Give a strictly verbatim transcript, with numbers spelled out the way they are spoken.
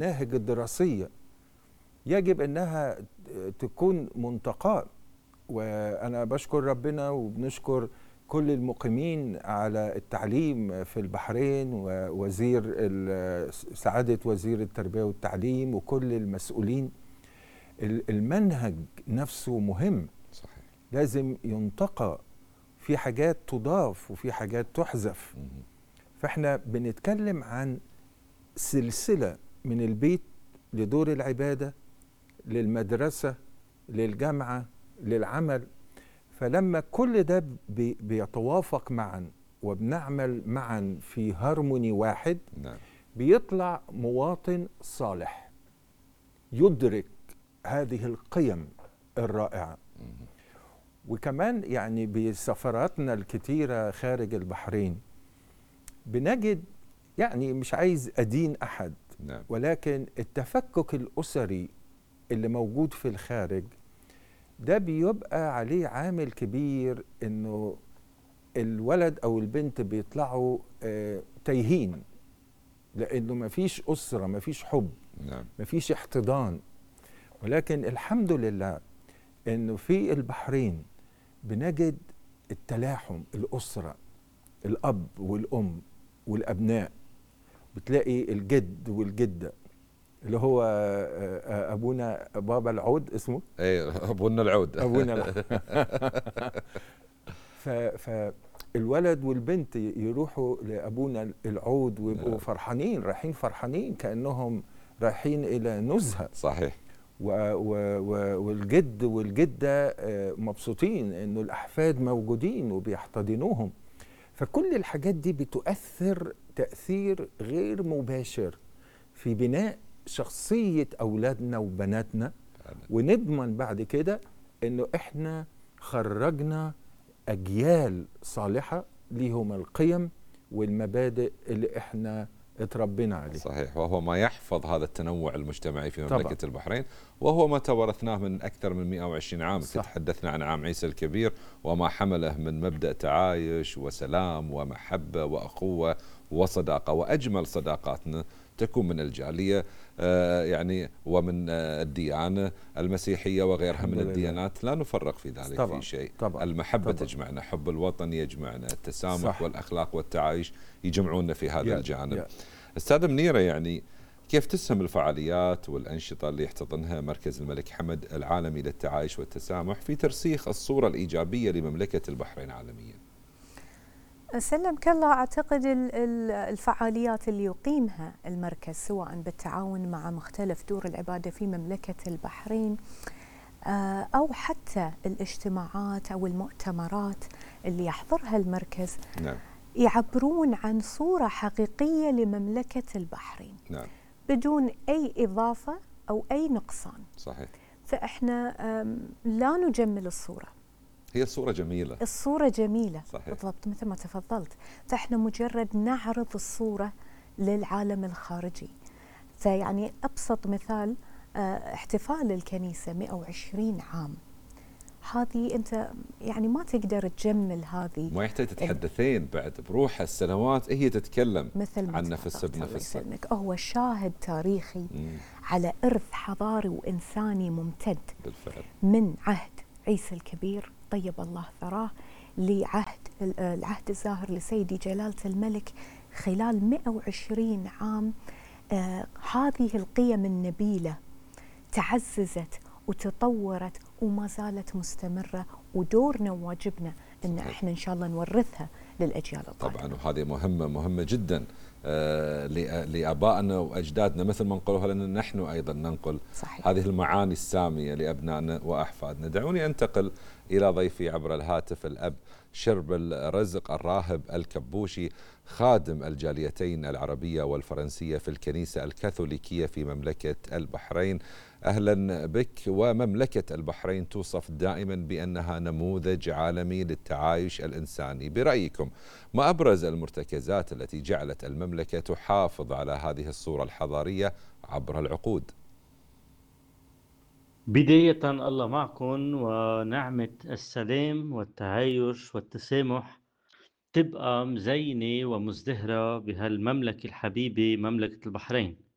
المناهج الدراسية يجب أنها تكون منتقاة. وأنا بشكر ربنا وبنشكر كل المقيمين على التعليم في البحرين، ووزير سعادة وزير التربية والتعليم وكل المسؤولين. المنهج نفسه مهم، صحيح. لازم ينتقى، في حاجات تضاف وفي حاجات تحذف. فاحنا بنتكلم عن سلسلة من البيت لدور العبادة للمدرسة للجامعة للعمل. فلما كل ده بي بيتوافق معا وبنعمل معا في هارموني واحد، نعم. بيطلع مواطن صالح يدرك هذه القيم الرائعة. وكمان يعني بسفراتنا الكتيرة خارج البحرين بنجد، يعني مش عايز أدين أحد، نعم. ولكن التفكك الأسري اللي موجود في الخارج ده بيبقى عليه عامل كبير، إنه الولد أو البنت بيطلعوا آه تايهين، لأنه مفيش أسرة، مفيش حب، نعم. مفيش احتضان. ولكن الحمد لله إنه في البحرين بنجد التلاحم، الأسرة، الأب والأم والأبناء. بتلاقي الجد والجدة اللي هو أبونا بابا العود اسمه ايه أبونا العود أبونا العود. فالولد والبنت يروحوا لأبونا العود ويبقوا فرحانين، رايحين فرحانين كأنهم رايحين إلى نزهة. صحيح. و و و والجد والجدة مبسوطين إنه الأحفاد موجودين وبيحتضنوهم. فكل الحاجات دي بتؤثر تأثير غير مباشر في بناء شخصية أولادنا وبناتنا، ونضمن بعد كده إنه إحنا خرجنا أجيال صالحة ليهم القيم والمبادئ اللي إحنا اتربينا عليه. صحيح. وهو ما يحفظ هذا التنوع المجتمعي في مملكة طبعا. البحرين، وهو ما تورثناه من أكثر من مئة وعشرين عام. صح. تحدثنا عن عام عيسى الكبير وما حمله من مبدأ تعايش وسلام ومحبة وأخوة وصداقة. وأجمل صداقاتنا تكون من الجالية آه يعني ومن آه الديانة المسيحية وغيرها من الديانات. لا نفرق في ذلك طبعًا. في شيء. طبعًا. المحبة طبعًا. تجمعنا، حب الوطن يجمعنا، التسامح صح. والأخلاق والتعايش يجمعونا في هذا يا الجانب. يا. أستاذ منيرة، يعني كيف تسهم الفعاليات والأنشطة اللي يحتضنها مركز الملك حمد العالمي للتعايش والتسامح في ترسيخ الصورة الإيجابية لمملكة البحرين عالميا؟ سلمك الله. أعتقد الفعاليات اللي يقيمها المركز سواء بالتعاون مع مختلف دور العبادة في مملكة البحرين أو حتى الاجتماعات أو المؤتمرات اللي يحضرها المركز، نعم. يعبرون عن صورة حقيقية لمملكة البحرين، نعم. بدون أي إضافة أو أي نقصان. صحيح. فإحنا لا نجمل الصورة، هي الصورة جميلة. الصورة جميلة. صحيح. بالضبط مثل ما تفضلت. فإحنا مجرد نعرض الصورة للعالم الخارجي. فيعني أبسط مثال احتفال الكنيسة مئة وعشرين عام، هذه أنت يعني ما تقدر تجمل هذه، ما يحتاج تتحدثين بعد، بروح السنوات هي تتكلم مثل عن نفسها بنفسها. هو شاهد تاريخي مم. على إرث حضاري وإنساني ممتد بالفعل من عهد عيسى الكبير طيب الله ثراه لعهد العهد الزاهر لسيدي جلالة الملك. خلال مئة وعشرين عام آه هذه القيم النبيلة تعززت وتطورت وما زالت مستمرة، ودورنا وواجبنا ان احنا ان شاء الله نورثها للاجيال القادمة. طبعا. وهذه مهمة مهمة جدا آه لآبائنا وأجدادنا، مثل ما نقولها لنا نحن أيضا ننقل. صحيح. هذه المعاني السامية لأبنائنا وأحفادنا. دعوني أنتقل إلى ضيفي عبر الهاتف، الأب شرب الرزق الراهب الكبوشي، خادم الجاليتين العربية والفرنسية في الكنيسة الكاثوليكية في مملكة البحرين. أهلا بك. ومملكة البحرين توصف دائما بأنها نموذج عالمي للتعايش الإنساني. برأيكم ما أبرز المرتكزات التي جعلت المملكة تحافظ على هذه الصورة الحضارية عبر العقود؟ بداية الله معكم، ونعمة السلام والتعايش والتسامح تبقى مزينة ومزدهرة بهالمملكة الحبيبة مملكة البحرين.